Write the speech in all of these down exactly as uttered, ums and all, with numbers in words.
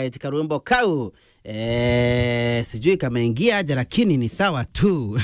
Eti karwimbo kau, eh, sijui kameingia aje, lakini ni sawa tu.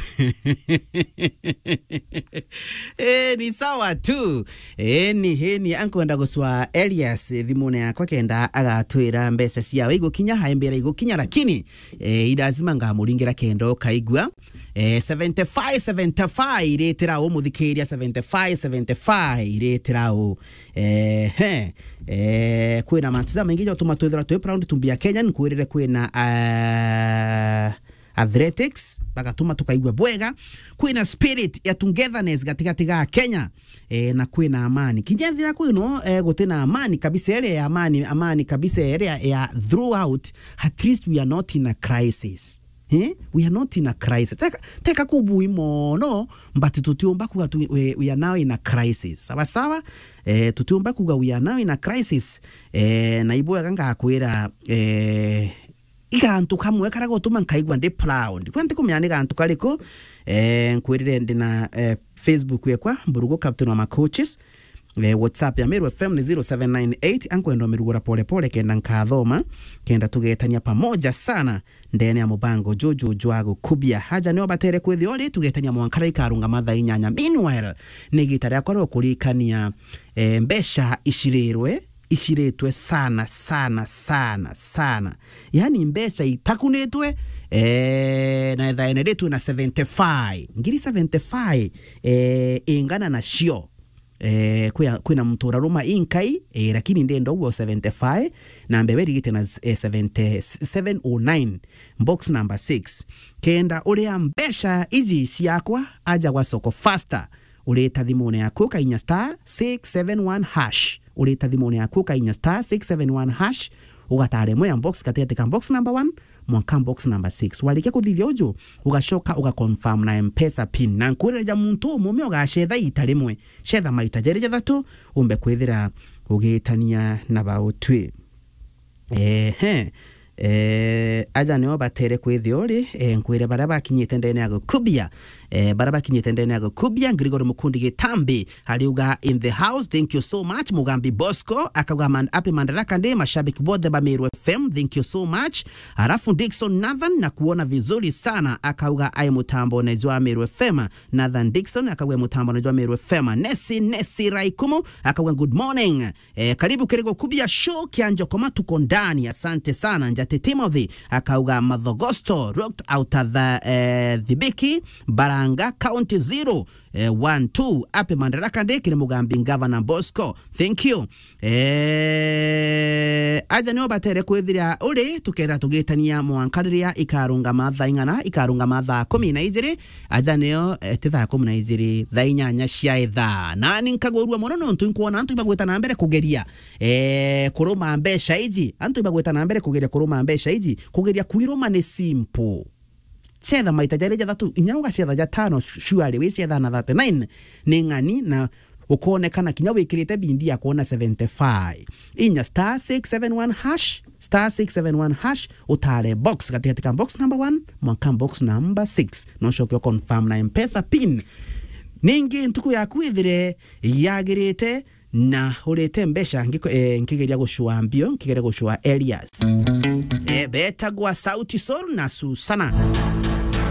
Eh, ni sawa tu. Eh, ni, eh, ni ankwenda guswa Elias, eh, thimune yakwa kenda agatwira mbeca ciawe igukinya, haimbira igukinya, lakini, eh, i lazima ngamuringira kenda ukaigua. Eh, seventy-five, seventy-five iritira u muthikiria, seventy-five, seventy-five iritira u. Eh, he. Eh, kwina mantu jamaingi jotuma twithira twi proud to be a Kenyan, nkwirire kwina, ah, athletics, bagatuma tukaigua bwega. Kwina spirit ya togetherness gatigati ga Kenya, eh, na kwina amani. Kinya thira kwino, eh, gutina amani kabisa, iria ya amani, amani kabisa, iria ya throughout, at least we are not in a crisis. Eh? We are not in a crisis. Teka, teka kubui mono, but tutiumba kuga tu, we, we are now in a crisis. Sawa sawa? Eh, tutiumba kuga we are now in a crisis. Eh, na ibwega ngakwira, eh, igantu kamwe karia gutuma nkaigua ndi proud. Kwa ntikumenya ni gantu kariku, eh, nkwirire ndina, eh, Facebook yekwa, Mburugu Captain wa Macoaches. Eh, WhatsApp ya Meru F M ni zero seven nine eight. Ankwenda umirugura pole pole kenda nkathoma, kenda tugetania pamoja sana ndene ya mubango juju jwa gukubia. Aja nio batere kwithia uri, tugetania mwanka riria ikarungama thaa inyanya. Meanwhile, ni igita riakwa ria kurikania, eh, mbeca icirirwe, iciritwe sana, sana, sana, sana. Yani mbeca itakunitwe, eh, na ethaeneritwe na seventy-five. Ngiri seventy-five, eh, ingana nacio. Eh, kwia-, kwina muntu uraruma inkai, eh, lakini ndenda uguo seventy-five, na mbebe irigite na, eh, seventy, seven oh nine, box number six. Kenda uria mbeca iji ciakwa, aja gwa Soko Faster, urita thimune yaku ukainya star six seven one hash, urita thimune yaku ukainya star six seven one hash, ugatara imwe ya box gatigati ka box number one mwanka box number six. Warikia kuthithia uju, ugacoka uga confirm na M-Pesa pin. Na nkwirira ja muntu umume ugacetha ita rimwe, cetha maita jeri jathatu, umbe kwithira ugitania na bautwi. Ehe. Eh, aja nio batere kwithia uri, eh, nkwire baria bakinyite ndene ya gukubia, eh, baria bakinyite ndene ya gukubia, Gregory Mukundi Gitambi, ariuga in the house, thank you so much. Mugambi Bosco, akauga man-, happy Madaraka Day, mashabiki bothe ba Meru F M, thank you so much. Alafu Dickson Nathan, na kuona vizuri sana, akauga ai mutambo ne jwa Meru F M. Nathan Dickson, akauga mutambo ne jwa Meru F M. Nesi, Nesi Raikumu, akauga good morning. Eh, karibu kiri gukubia show kia Njokoma, tuko ndani. Asante sana. Njati Timothy akauga Mathogosto, rocked out of the, eh, Thibiki, Baranga, County zero, eh, one two. Happy Madaraka Day kiri Mugambi Governor Bosco. Thank you. Eh, aja nio batere kwithira uri, tuketha tugitania mwanka riria ikarungama thaa ing'ana, ikarungama thaa kumi na ijiri, aja nio, eh, ti thaa kumi na ijiri, thaa inyanya cia ithaa. Nani nkagurua mono nontu nkwona antu ibagwita na mbere kugeria, eh, kuruma mbeca iji. Antu ibagwita na mbere kugeria kuruma mbeca iji. Kugeria kwiruma ni simple. Cetha maita jari jathatu, inya ugacetha jatano, surely wicetha na thirty-nine ni ng'ani na ukonekana kinya wikirite bindi ya kuona seventy-five. Inya star six seven one hash, star six seven one hash, utare box gatigati ka box number one mwanka box number six. No ucoke u confirm na M-Pesa pin. Ningi ntuku yaku ithire yagirite na urite mbeca ngiko-, eh, nkigeria gucua mbio, nkigeria gucua Elias. Eh, betagwa Sauti Sol na Susana.